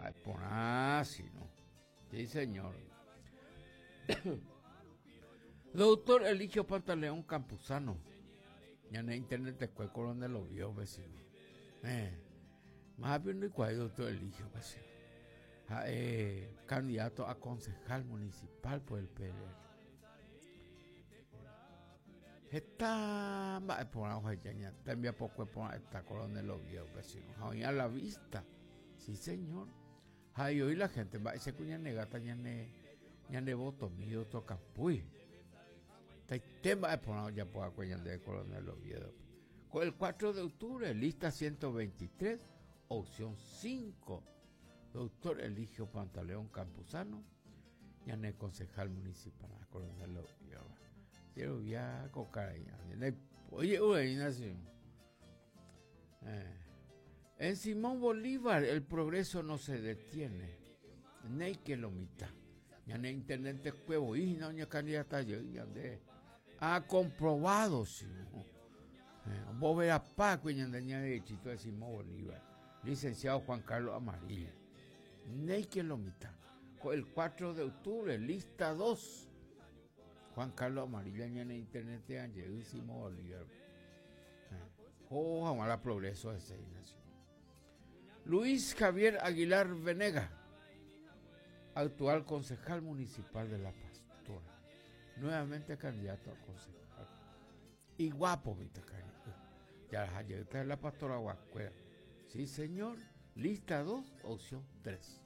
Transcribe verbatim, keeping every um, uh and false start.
Mba'eporã, sino. Sí, señor. Doctor Eligio Pantaleón Campuzano. Ñane internet te coronel lo vio, vecino. Eh. Más bien no doctor Eligio, vecino. Eh, candidato a concejal municipal por el P L R. Está mba'eporã oheja tembiapokue porã está coronel Oviedo, vecino. Ha oĩ a la vista. Sí, señor. Ha y hoy la gente mba'éicha ñane gata ñane ñane votomi doctor Campuy. Taite mba'eporã ojapo ñande coronel Oviedo. Con el cuatro de octubre, lista ciento veintitrés, opción cinco. Doctor Eligio Pantaleón Campuzano, ñane concejal municipal, coronel Oviedo. Quiero ya cocar ahí. Oye, uy, eh. En Simón Bolívar el progreso no se detiene. Neike lo mitad. Ñane intendente cuevo y no ña candidata yo ñande ha comprobado sí. Eh, vos verás Paco y ñande ñande chito de Simón Bolívar. Licenciado Juan Carlos Amarilla. Neike lo mitad. El cuatro de octubre, lista dos. Juan Carlos Amarilla ñane intendente de Simón Bolívar. Eh. Oh, la progreso de seis naciones. Luis Javier Aguilar Venega, actual concejal municipal de La Pastora, nuevamente candidato a concejal. Y guapo, mi cariño. Ya está La Pastora Guacuera. Sí, señor. Lista dos, opción tres.